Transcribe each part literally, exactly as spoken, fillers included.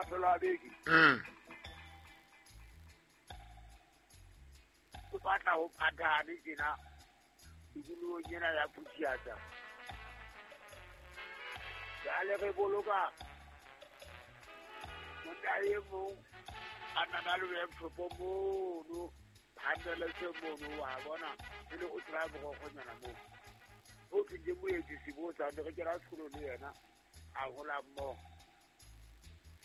mafelo a beke. Mm. O batla ho phathane tjena tikolohong ena ya Phuthiatsa. Jwale re boloka monna e mong a na na le workshop mono phandeletse mono wa bona e le o tla borokgonyana moo. O tlile moeti Sebotsa re kena sekolo le yena a hola mmoho.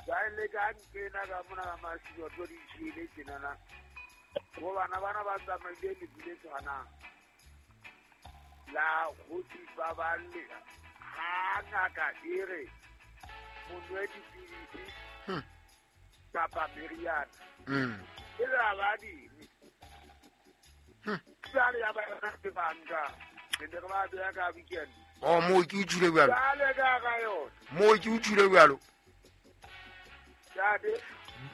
Jwale ka nkena ka mona ka masiba tlo di tjhele tjenana. Bo bana bana ba tsamaile lefu le tshwanang la kgosi ba ba le ha ngaka e re monwe dipidisi kapa meriana. E le ba ding. Jwale ya ba ke banka ke ne re ba beya ka weekend. Oh mo ke utlwile jwalo. Jwale ka ka yona. Mo ke utlwile jwalo. Jwale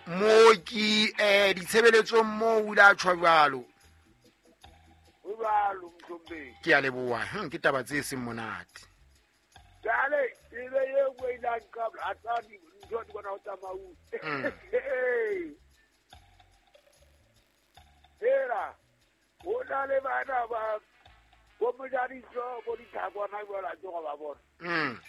Mooki eh ditshebeletsong mo o ile a tjhwa jwalo. O jwalo mthombe. Ke a leboha. Hm ke taba tse seng monate. Jwale e be e nngwe ile a nka a tsa dintho di bona ho tsamau. Hela ho na le bana ba bo mojadiso bo dithakwana jwalo a tsoga ba bona. Mm.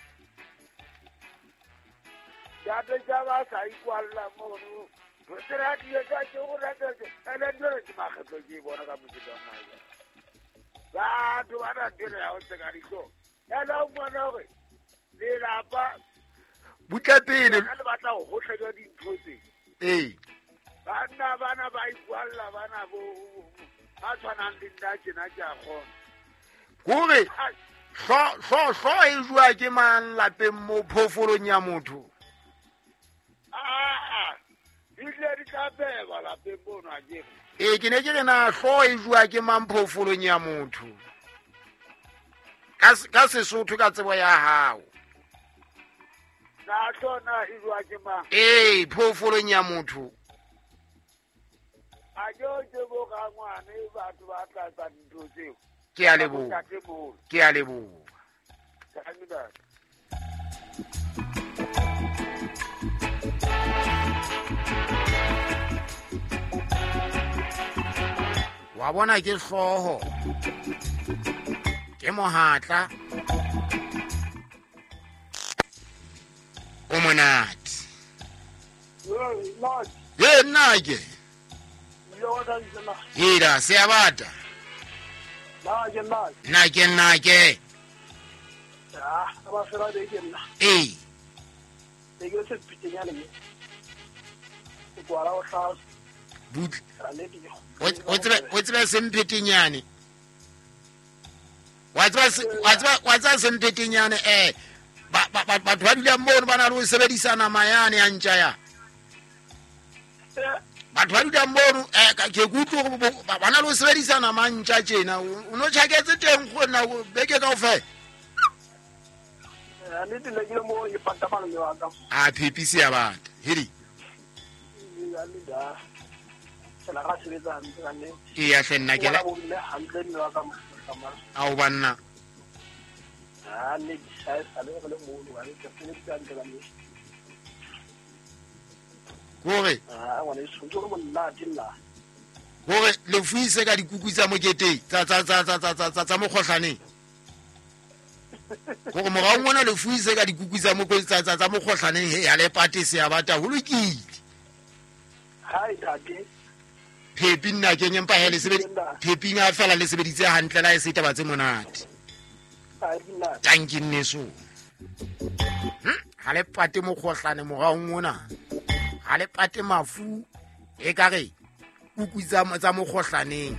Jate tsa ba sa ikwalla mono. Re di etsa ke go rata ene ntho ke makgetlo ke bona ka motse wa nna. Batho ba na dira ya ho tseka ditso. Ene o bona hore lelapa butle pele le batla ho hohle ka dintho tse. Ee. Banna bana ba ikwalla bana bo ba tshwanang le nna tjena ke a kgona. Kore hlo hlo hlo e jwa ke mang lapeng mo phoofolong ya motho. Ah, di ile di tla beba lapeng mono a kere. Ee ke ne ke re na hlo e jwa ke mang phoofolong ya motho. Ka ka Sesotho ka tsebo ya hao. Na hlo na e jwa ke mang? Ee phoofolong ya motho. A jo ke bo ka ngwane batho ba tla tsa dintho tseo. Ke a leboha. Ke a leboha. Wa bona ke hlooho. Ke mohatla. O monate. Ye nna ke. Hira se a bata. Nna ke nna ke. Ah, ba fela be ke nna. Ee. Ke ke se pitenyane me. Ke kwala o hla. Butle. O tsebe o tsebe semphetenyane. Wa tseba wa tseba wa tseba semphetenyane eh ba ba batho ba dulang mono ba na le ho sebedisa nama yane ya ntja ya. Batho ba dulang mono eh ke kutlwe hore ba na le ho sebedisa nama ntja tjena o no tjhaketse teng gona beke kaofela. Eh ne dile ke mo e pata malome wa ka. A phepisi ya batho. Hedi. Ya le da. Tsela ga sebetsa hantle ka nnete. Ee, hle nna ke la hantle mme wa ka mo. Ao banna. Ah ne di sa sa le re le mono wa ke sebetsa hantle ka nnete. Kore ah ngwana e tshwanetse go monate nna. Kore le fuise ka dikuku tsa moketeng tsa tsa tsa tsa tsa tsa mokgohlaneng. Gore morao ngwana le fuise ka dikuku tsa mokotsa tsa tsa mokgohlaneng he ya le pate se ya bata ho lokile. Hai tate. Phepi nna ke nyempa hele sebedi phepi nga fela le sebeditse hantle la e se taba tse monate. Tanki nneso. Hm ha le pate mokgohlane morao ngwana. Ha le pate mafu e ka re kuku tsa tsa mokgohlaneng.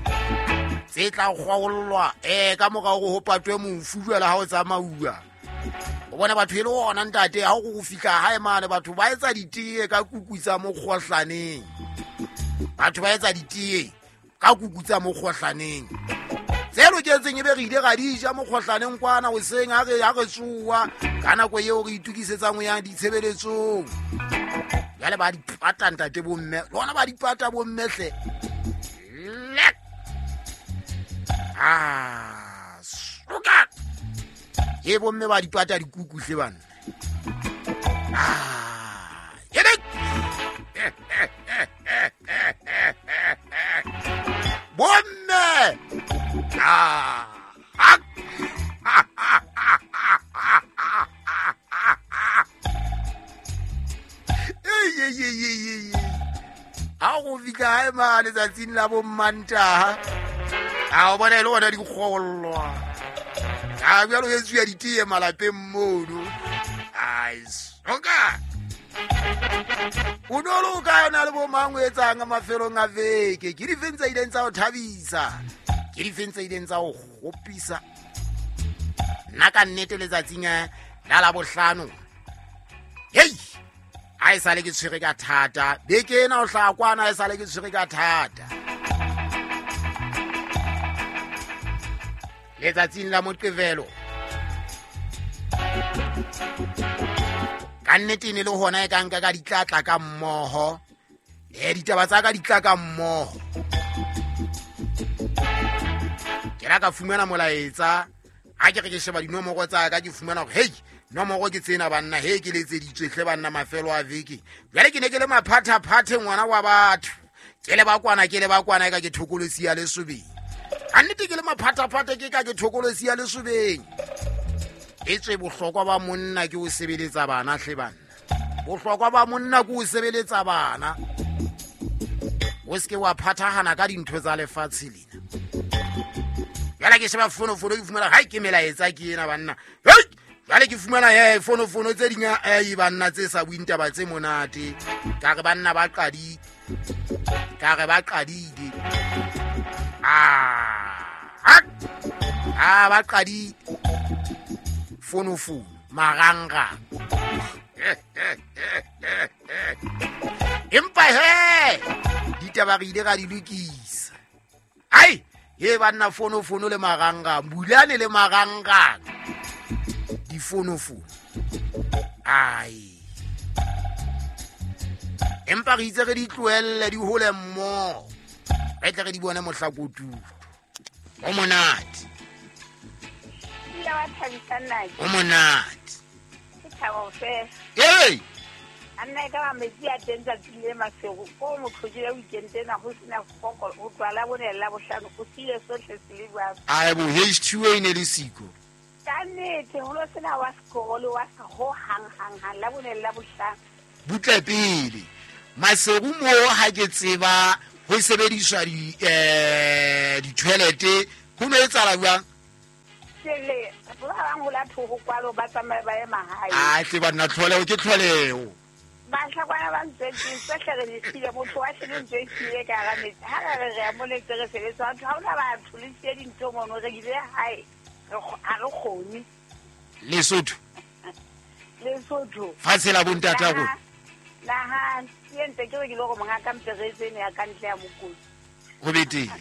Tse tla kgwaollwa eh ka morao ho patwe mofu jwale ha o tsamauwa. O bona batho e le ona ntate ha o go fihla hae mane batho ba etsa ditee ka kuku tsa mokgohlaneng. Batho ba etsa ditee ka kuku tsa mokgohlaneng. Tse loketseng ebe re ile ra di ja mokgohlaneng kwana hoseng ha re ha re tsoa ka nako eo re itukisetsang ho ya ditshebeletsong. Jwale ba di pata ntate bomme, lona ba di pata bomme hle. Lek. Ah, suka. Ye bomme ba di pata dikuku hle bana. Ah, yele. ye ye ye ye a go fihla hae ma letsatsing la bo Mmantaha a o bona e le gona dikgollwa a bjalo e tswia ditee malapeng mono ai soka o no le o kae o na le bo mang o etsang mafelong a veke ke difeng tse ileng tsa o thabisa ke difeng tse ileng tsa o kgopisa nna ka nnete letsatsing la Labohlano hei a e sale ke tshwere ka thata beke ena o hlaha kwana a e sale ke tshwere ka thata letsatsing la Moqebelo ka nnete e ne le hona e ka nka ka ditlatla ka mmoho le ditaba tsa ka di tla ka mmoho ke la ka fumana molaetsa ha ke re ke sheba dinomoro tsa ka ke fumana hore hei nomoro ke tsena banna he ke letseditswe hle banna mafelo a veke jwale ke ne ke le maphathaphathe ngwana wa batho ke le ba kwana ke le ba kwana e ka ke thokolosi ya lesobeng ka nnete ke le maphathaphathe ke ka ke thokolosi ya lesobeng e tswe bohlokwa ba monna ke o sebeletsa bana hle banna bohlokwa ba monna ke o sebeletsa bana o se ke wa phathahana ka dintho tsa lefatshe lena jwale ke sheba fonofono ke fumana hai ke melaetsa ke ena banna hei jwale ke fumana he fonofono tse ding ai banna tse sa buing taba tse monate ka re banna ba qadile ka re ba qadile ah ah ba qadile fonofono marangrang empa he ditaba re ile ra di lokisa ai he banna fonofono le marangrang bulane le marangrang difonofono ai empa re itse re di tlohelle di hole mmoho re tle re di bone mohlakotulo o monate wa thabisa nna o monate ke thabo fela ee a nna e ka ba metsi a teng tsatsing le masego ko motho ya weekend ena ho sena foko ho tloha la bone le Labohlano o siile sohle se le jwalo ai bo H two A ne le siko ka nnete ho lo sena wa sekolo wa sa ho hang hang hang la bone le Labohlano butle pele Maseru mo ha ke tseba ho sebediswa di eh di-toilet ho no etsahala jwang le ba bang ho la thoko kwalo ba tsamaye ba ye mahae a tle banna tlholeho ke tlholeho bahlakwana ba ntswetseng tsohle re di siile motho wa shele ntho e siile ka hara metsi ha re re re a moletse re sebetsa batho ha hona batho le siye dintho mono re ile hae ha re kgone Lesotho Lesotho fatshe la bontata rona naha ke ntse ke re ke le gore monga ka mperetse ene ya ka ntle ya mokoti ho betere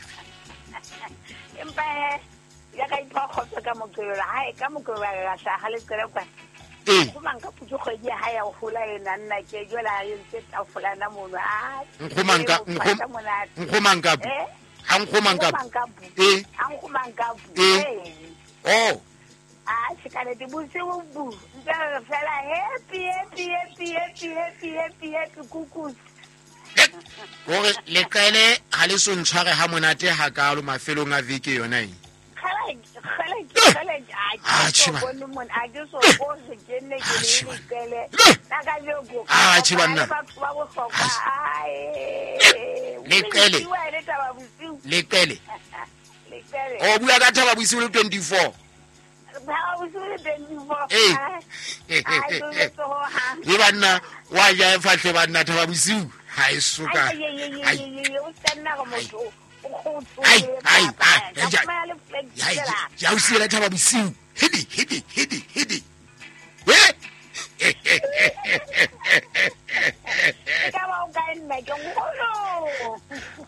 empa he ya ka ipha kgotso ka Moqebelo hae ka Moqebelo ra hlaha le qela kwa ee go manka putso kgwedi ya hae ya ho hola ena nna ke jwale ha e ntse tafolana mono a nkgomanka nkgomanka ha nkgomanka ee ha nkgomanka ee oh a se bosigo bu ntse re fela happy happy happy happy happy happy happy kukus gore leqele ha le so ntshware ha monate hakalo mafelong a veke yona e leqele leqele o bua ka thaba bosiu le twenty-four ee le banna wa ja fahle banna thaba bosiu ha e soka ai ai ai ja o siela thaba bosiu hedi hedi hedi hedi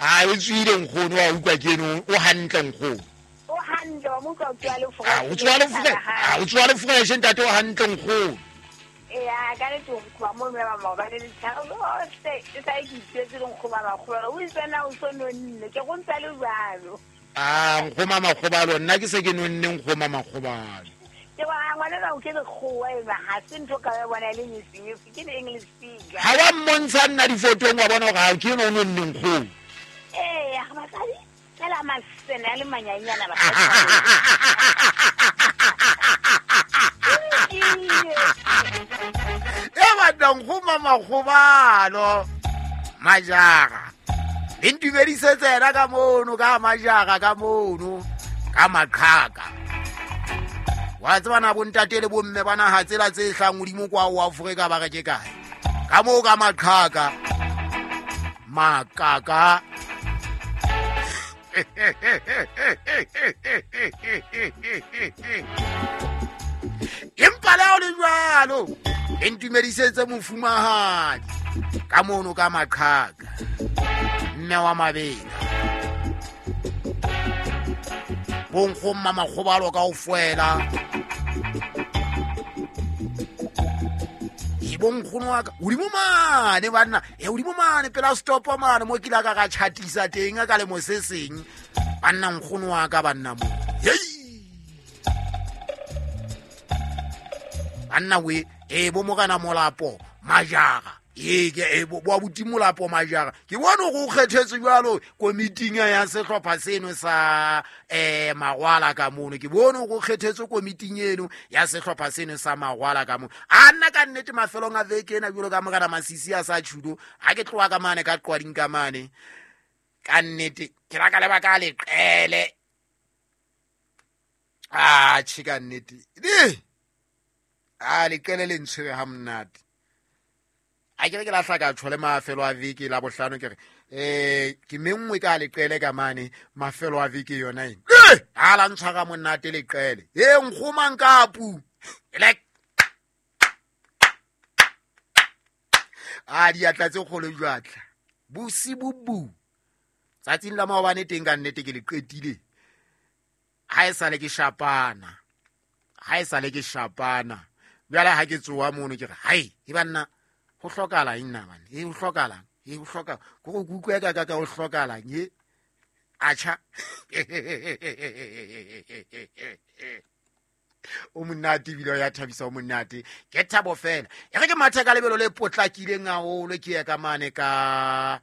ai o tswile nkgono wa utlwa ke eno o hantle nkgono o hantle wa motho o tswa le fresh o tswa le fresh o tswa le fresh ntate o hantle nkgono ee ka le tlo kwa mo me ba maobane le tshabo se e sa ke itsetse le nkgoma makgobalo o itse na o so nonne ke go ntsa le jalo ah nkgoma makgobalo nna ke se ke nonne nkgoma makgobalo ke wa ngwana ba o ke lekgowa ena ha se ntho ka bona le nyisi ke le English speaker ha wa mmontsha nna difotong wa bona gore ha ke eno o nonne nkgono ee ga basadi fela masene a le manyanyana ba e banna nkgoma makgobalo majara le ntumedisetse yena ka mono ka majara ka mono ka maqhaka wa tseba na bontate le bomme ba naha tsela tse hlang hodimo kwa o Afrika ba re ke kae ka moo ka maqhaka makaka empa le ho le jwalo le ntumedisetse mofumahadi ka mono ka maqhaka mme wa mabela bonkgomma makgobalo ka ofela e bonkgono wa ka hodimo mane banna e hodimo mane pela stopo mane mo ke la ka ka chatisa teng ka lemo se seng banna nkgono wa ka banna mo hei banna we e bo morena Molapo majara e ke e bo abuti Molapo majara ke bona go kgethetse jwalo komiting ya sehlopha seno sa eh Magwala ka mono ke bona go kgethetse komiting eno ya sehlopha seno sa Magwala ka mono a nna ka nnete mafelong a veke ena jwalo ka morena Masisi a sa tjhudo ha ke tloha ka mane ka qwading ka mane ka nnete ke la ka leba ka leqele a tjhe ka nnete di a leqele le ntshwere ha monate a ke re ke la hlaka tshole mafelo a veke la bohlano ke re eh ke menngwe ka leqele ka mane mafelo a veke yona eng ha la ntshwara monate leqele e nkgomang kapu like a diatla tse kgolo jwatla bosibubu tsatsing la maobane teng ka nnete ke le qetile ha e sale ke shapana ha e sale ke shapana jwale ha ke tsoa mono ke re hai e banna ho hlokahala eng na bana e ho hlokahala e ho hloka go go kutlwe ka ka ka ho hlokahala e acha o monate ebile ya thabisa o monate ke thabo fela e re ke mathe ka lebelo le potlakileng haholo ke ya ka mane ka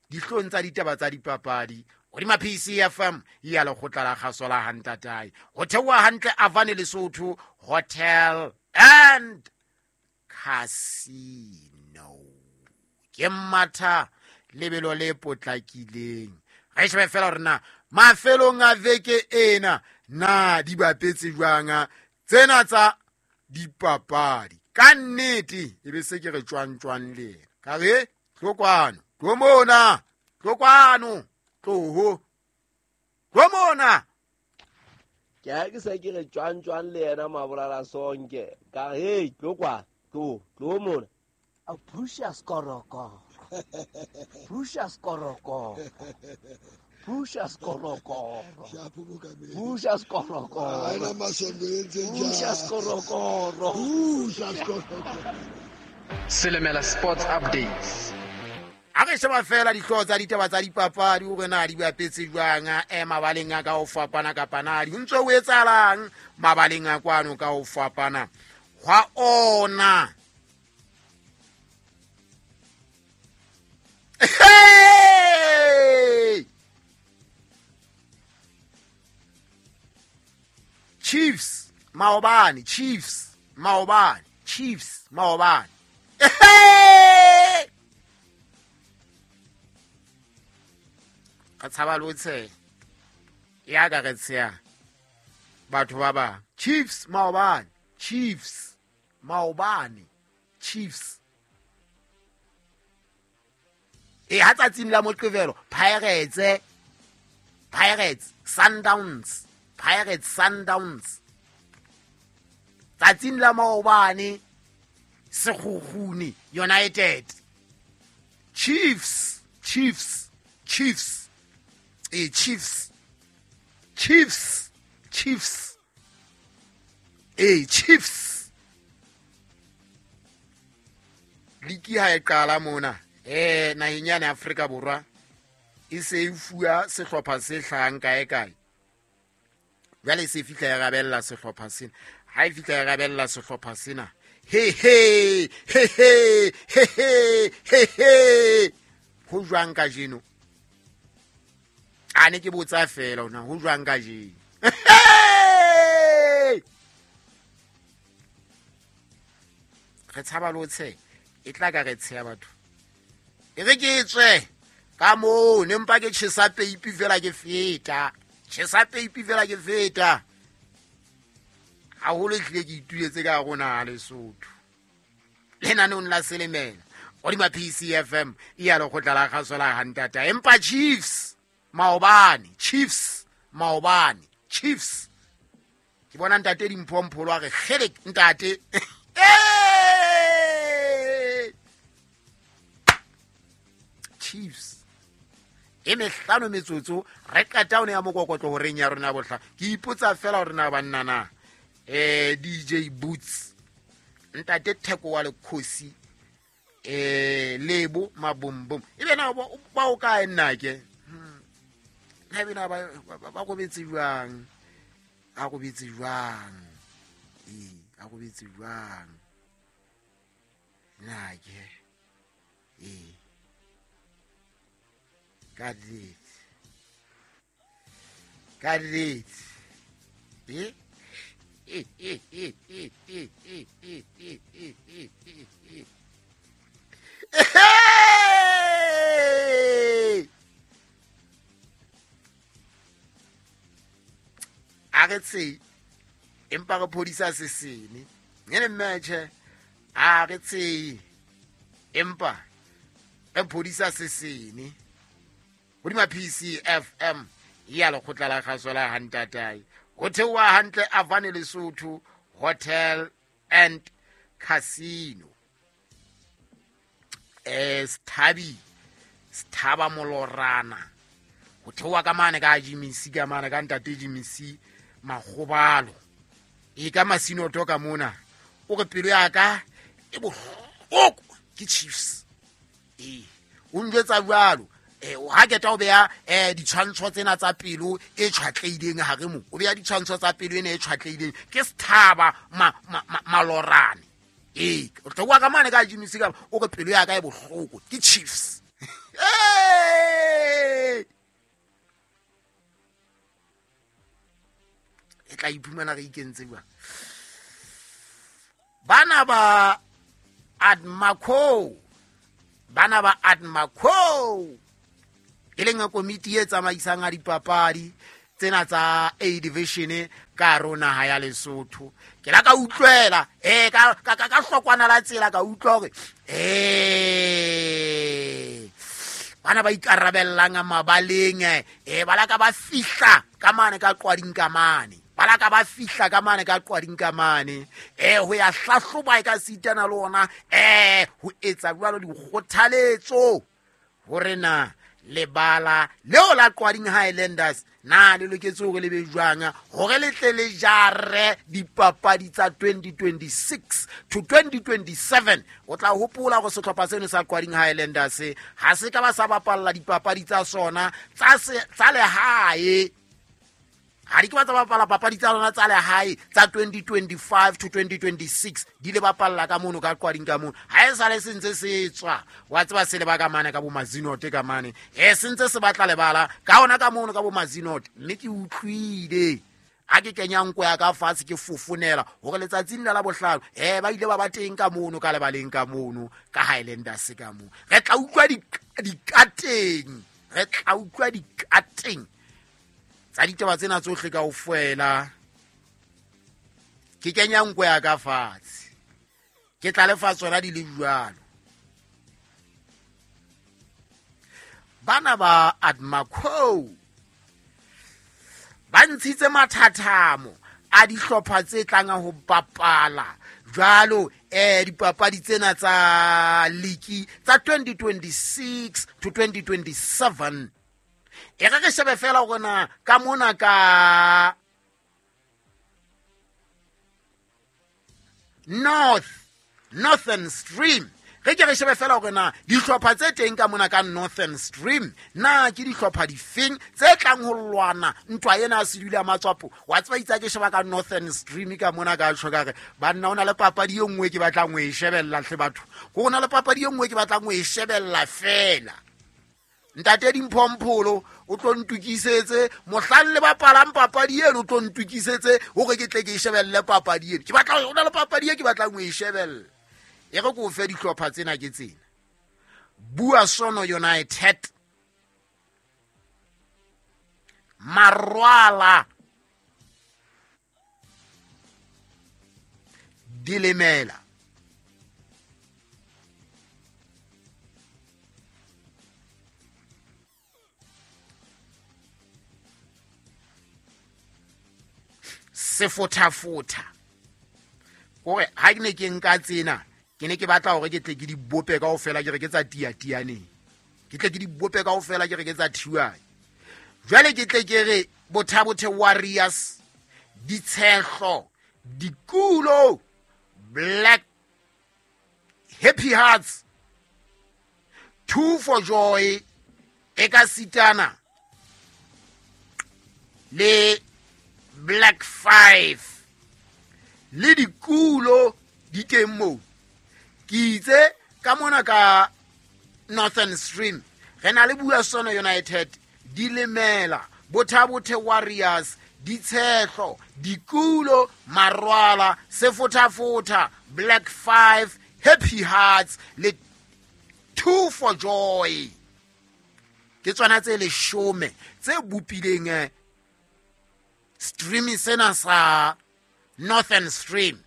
dihlong tsa ditaba tsa dipapadi hodima P C F M ya lekgotla la kgaso la Hantatae ho theoha hantle Avane Lesotho Hotel and Casino ke matha lebelo le potlakileng re shebe fela hore na mafelong a veke ena na di bapetse jwang tsena tsa dipapadi ka nnete e be se ke re tjwang tjwang le ka re tlo kwano tlo mona tlo kwano tloho tlo mona ke ha ke se ke re tjwang tjwang le yena mabolala sonke ka re tlo kwa tlo tlo mona a Precious Koroko Precious Koroko Precious Koroko Precious Koroko Precious Koroko Precious Koroko Selemela Sports Updates a re sheba fela dihlooho tsa ditaba tsa dipapadi hore na di bapetse jwang e mabaleng a ka ho fapana kapa na di ntse ho etsahalang mabaleng a kwano ka ho fapana hwa ona. Hey! Chiefs maobane Chiefs maobane Chiefs maobane hey! Ka tshaba lo tshe ya ka re tsheya batho ba ba Chiefs maobane Chiefs maobane Chiefs e ha tsatsing la Moqebelo Pirates Pirates Sundowns Pirates Sundowns tsatsing la maobane Sekhukhune United Chiefs Chiefs Chiefs e Chiefs Chiefs Chiefs e Chiefs liki ha e qala mona eh naheng ya Afrika Borwa e se e fuwa sehlopha se hlahang kae kae jwale se fihla ya rabella sehlopha sena ha e fihla ya rabella sehlopha sena he he he he he he he ho jwang kajeno a ne ke botsa fela ona ho jwang kajeno Re tshaba le ho tsheha e tla ka re tsheha batho e re ke tswe ka moo ne mpa ke tjhesa peipi fela ke feta tjhesa peipi fela ke feta haholo ehlile ke ituletse ka rona Lesotho lenaneong la Selemela hodima P C F M e ya lekgotla la kgaso la hantata empa Chiefs maobane Chiefs maobane Chiefs ke bona ntate Dimphompholo a re kgele ntate Chiefs e mehlano metsotso re qeta one ya mokokotlo horeng ya rona bohla ke ipotsa fela hore na banna na eh D J Boots ntate Theko wa lekgosi eh Lebo Mabombom ebe na ba o kae nna ke na ebe na ba ba robetse jwang a robetse jwang eh a robetse jwang na ke eh ka nnete ka nnete eh eh eh eh eh eh eh eh eh eh eh eh a re tse empa re phodisa sesene ngene mmetjhe a re tse empa re phodisa sesene hodima P C F M ya lekgotla la kgaso la hantatae ho theoha hantle Avane Lesotho Hotel and Casino eh Sthabi Sthaba Molorana ho theoha ka mane ka Jimmy ka mane ka ntate Jimmy Makgobalo e ka Masinoto ka mona o re pelo ya ka e bohloko ke Chiefs e o njwetsa jwalo eh ha keta o beya eh ditshwantsho tsena tsa pelo e tshwatleileng hare mo o beya ditshwantsho tsa pelo ene e tshwatleileng ke Sthaba Malorane e o tlowa ka mane ka Jimmy ka o re pelo ya ka e bohloko ke Chiefs e tla iphumana re ikentse jwang bana ba Admaco bana ba Admaco e leng komiti e tsamaisang a dipapadi tsena tsa A division ka rona ha ya Lesotho ke la ka utlwela eh ka ka ka hlokwana la tsela ka utlwa hore eh bana ba ikarabellang mabaleng eh ba la ka ba fihla ka mane ka qwading ka mane ba la ka ba fihla ka mane ka qwading ka mane eh ho ya hlahloba e ka sitana le ona eh ho etsa jwalo dikgothaletso hore na lebala leo la Qwading Highlanders na le loketse hore le be jwang hore le tle le jare dipapadi tsa twenty twenty-six to twenty twenty-seven o tla hopola hore sehlopha seno sa Qwading Highlanders ha se ka ba sa bapalla dipapadi tsa sona tsa tsa lehae ha di ke ba tsa bapala papadi tsa lona tsa lehae tsa twenty twenty-five to twenty twenty-six di le bapalla ka mono ka Qwading ka mono ha e sale se ntse se tswa wa tseba se le ba ka mane ka bo Mazinote ka mane e se ntse se batla lebala ka ona ka mono ka bo Mazinote mme ke utlwile a ke kenya nko ya ka fatshe ke fofonela hore letsatsing la la bohlano eh ba ile ba ba teng ka mono ka lebaleng ka mono ka Highlanders ka mono re tla utlwa dikateng re tla utlwa dikateng tsa ditaba tsena tsohle kaofela ke kenya nko ya ka fatshe ke tla lefa tsona di le jwalo bana ba Admaco ba ntshitse mathathamo a dihlopha tse tlang ho bapala jwalo eh dipapadi tsena tsa ligi tsa twenty twenty-six to twenty twenty-seven e re re shebe fela hore na ka mona ka North Northern Stream re ke re shebe fela hore na dihlopha tse teng ka mona ka Northern Stream na ke dihlopha difeng tse tlang ho lwana ntwa ena ya sedula matswapo wa tseba itsa ke sheba ka Northern Stream ka mona ka tjho ka re banna ona le papadi e nngwe ke batlang ho e shebella hle batho go ona le papadi e nngwe ke batlang ho e shebella fela ntate Dimphompholo o tlo ntukisetse mohlang le bapalang papadi eno o tlo ntukisetse hore ke tle ke e shebelle papadi eno ke batla o na le papadi e ke batlang ho e shebella E re ko fe dihlopha tsena ke tsena. Bua Sono United, Marwala, Dilemela, Sefotafota. Hore ha ke ne ke nka tsena, ke ne ke batla hore ke tle ke di bope kaofela ke re ke tsa tiatianeng. Ke tle ke di bope kaofela ke re ke tsa thiwane. Jwale ke tle ke re Bothabothe Warriors, Ditshehlo, Dikulo, Black Happy Hearts, Two for Joy, Ekasitana le Black Five le Dikulo di teng moo. Ke itse ka mona ka Northern Stream re na le Bua Sono United, Dilemela, Bothabothe Warriors, Ditshehlo, Dikulo, Marwala, Sefotafota, Black Five, Happy Hearts le Two for Joy. Ke tsona tse leshome tse bopileng stream sena sa Northern Stream.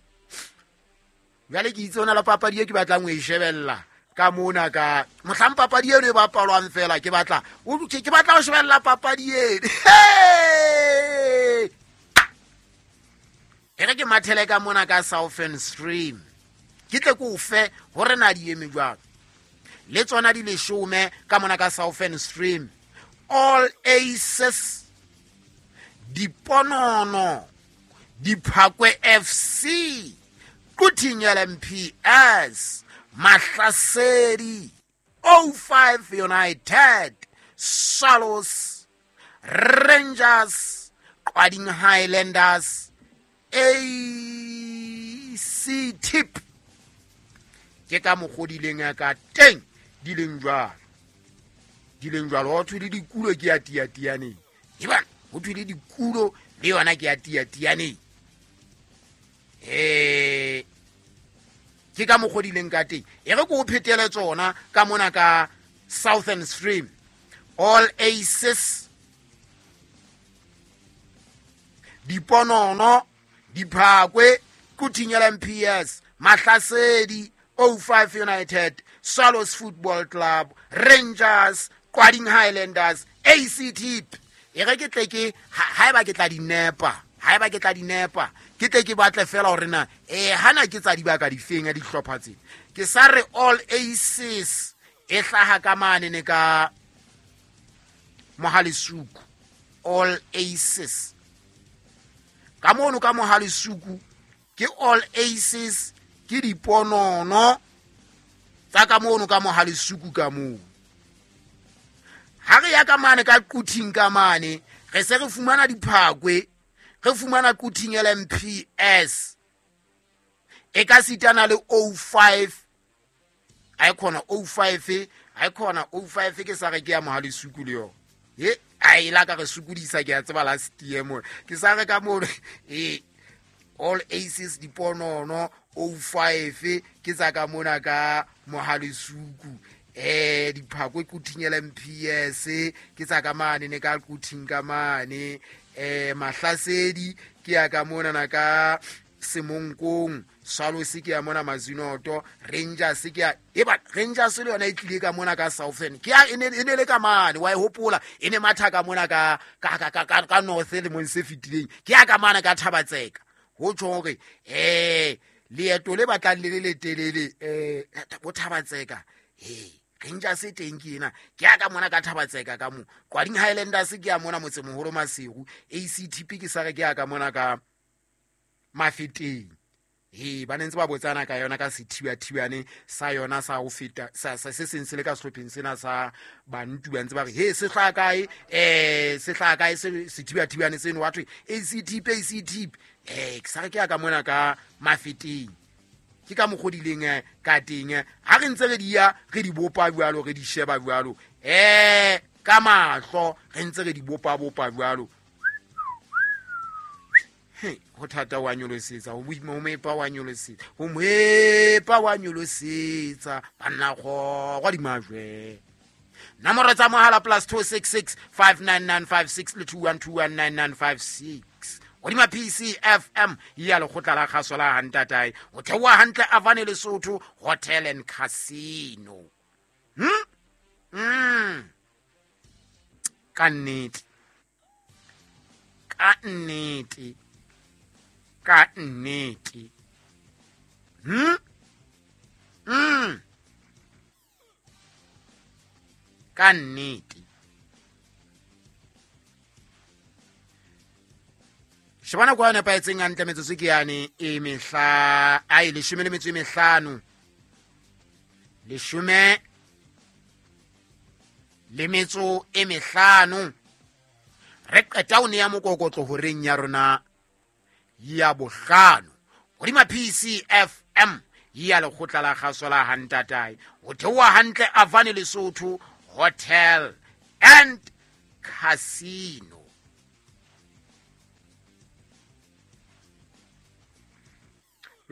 Jwale ke itse hona le papadi e ke batlang ho e shebella ka mona ka mohlang papadi eno e bapalwang fela ke batla ke batla ho shebella papadi eno. E re ke mathele ka mona ka Southern Stream ke tle ke o fe hore na di eme jwang. Le tsona di leshome ka mona ka Southern Stream. All Aces, Diponono, Diphakwe F C, Quthing L M P S, Mahlasedi, O five United, Swallows, Rangers, Qwading Highlanders, A C Tip. Ke ka mokgodileng ka teng di leng jwalo. Di leng jwalo ho thwe le dikulo ke ya tiatianeng. Eba ho thwe le dikulo le yona ke ya tiatianeng. Eh ke ka mokgodileng ka teng. E re ko o phetele tsona ka mona ka Southern Stream. All Aces, Diponono, Diphakwe, Quthing L M P S, Mahlasedi, O five United, Swallows Football Club, Rangers, Qwading Highlanders, A C T. E re ke tle ke haeba ke tla di nepa, haeba ke tla di nepa, ke tle ke batle fela hore na eh hana ke tsa dibaka difeng ya dihlopha tse. Ke sa re All Aces e hlaha ka mane ne ka Mohalisuku. All Aces ka mono ka Mohalisuku ke All Aces ke Diponono tsa ka mono ka Mohalisuku ka moo. Ha re ya ka mane ka Quthing ka mane re se re fumana Diphakwe, re fumana Quthing L M P S e ka sitana le O five. A khona O five, a khona O five ke sa re ke ya Mohalisuku le yona. He a ila ka re sukudisa ke a tseba last year mo. Ke sa re ka mo eh All Aces, Diponono, O five ke tsa ka mona ka Mohalisuku. Eh Diphakwe Quthing L M P S ke tsa ka mane ne ka Quthing ka mane. Eh Mahlasedi ke ya ka mona na ka Semonkong, Swallows ke ya mona Mazinoto, Rangers ke ya eba Rangers le yona e tlile ka mona ka Southern. Ke ya e ne e le ka mane wa e hopola e ne matha ka mona ka ka ka ka ka North le mong se fetileng. Ke ya ka mane ka Thabatseka. Ho tjho hore eh leeto le batlang le le letelele eh bo Thabatseka. Eh Rangers e teng ke ena. Ke ya ka mona ka Thabatseka ka mo. Qwading Highlanders ke ya mona motsemoholo Maseru. A C T P ke sa re ke ya ka mona ka Mafeteng. He ba ne ntse ba botsana ka yona ka sethiba-thibane sa yona sa ho feta sa se seng se le ka sehlopheng sena sa bantu ba ntse ba re he se hlaha kae eh se hlaha kae se sethiba-thibane seno wa thwe A C T P A C T P eh ke sa re ke ya ka mona ka Mafeteng. Ke ka mokgodileng ka teng ha re ntse re di ya re di bopa jwalo re di sheba jwalo eh ka mahlo re ntse re di bopa bopa jwalo. Ho thata wa nyolosetsa ho boima ho mepa wa nyolosetsa ho mepa wa nyolosetsa banna go gwa dimajwe. Nomoro tsa mohala plus two six six five nine nine five six le two one two one nine nine five six. Hodima P C F M ya lekgotla la kgaso la Hantatae o theoha hantle Avane Lesotho Hotel and Casino. Hmm? Mm. Ka nnete. Ka nnete. Ka nnete. Hmm? Mm. Ka nnete. Shebana kwa nepahetseng hantle metsotso ke yane e mehla ai leshome le metso e mehlano. Leshome le metso e mehlano. Re qeta o ne ya mokokotlo horeng ya rona ya bohlano. Hodima P C F M ya lekgotla la kgaso la Hantatae. O theoha hantle Avane Lesotho Hotel and Casino.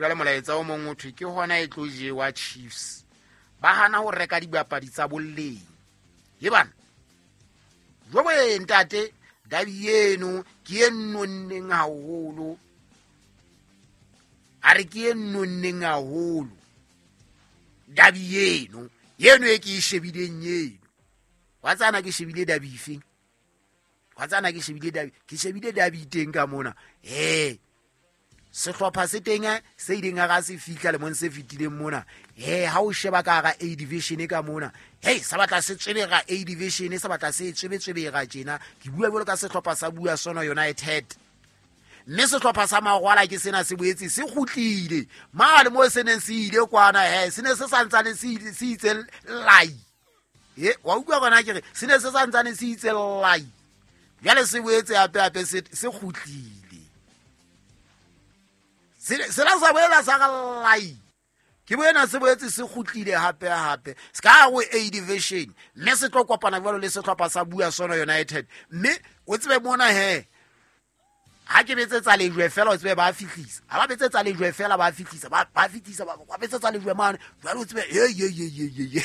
Jwale molaetsa o mong o thwe ke hona e tlo jewa Chiefs. Ba hana ho reka dibapadi tsa boleng. Ye bana. Jwale ntate dabi eno ke e nonneng haholo. A re ke e nonneng haholo. Dabi eno, eno e ke e shebileng eno. Wa tsana ke shebile dabi ifeng? Wa tsana ke shebile dabi, ke shebile dabi teng ka mona. Eh. Sehlopha se teng se ileng ga se fihla lemong se fetileng mona. Eh ha o sheba ka ga A division ka mona. Hey sa batla se tswebega A division sa batla se tswebetswebega tjena. Ke bua jwalo ka sehlopha sa Bua Sono United. Mme sehlopha sa Magwala ke sena se boetse se kgutlile. Mane mo se neng se ile kwana he se ne se santsane se se itse lai. Eh wa utlwa gona ke re se ne se santsane se itse lai. Jwale se boetse hape hape se se kgutlile. Se la sa boela sa lai. Ke boena se boetse se kgutlile hape hape. Se ka go A division mme se tlo kopana jwalo le sehlopha sa Bua Sono United. Mme o tsebe mona he ha ke betsetsa lejwe fela o tsebe ba fihlisa. Ha ba betsetsa lejwe fela ba fihlisa ba ba fihlisa ba betsetsa lejwe mane. Jwale o tsebe ye ye ye ye ye.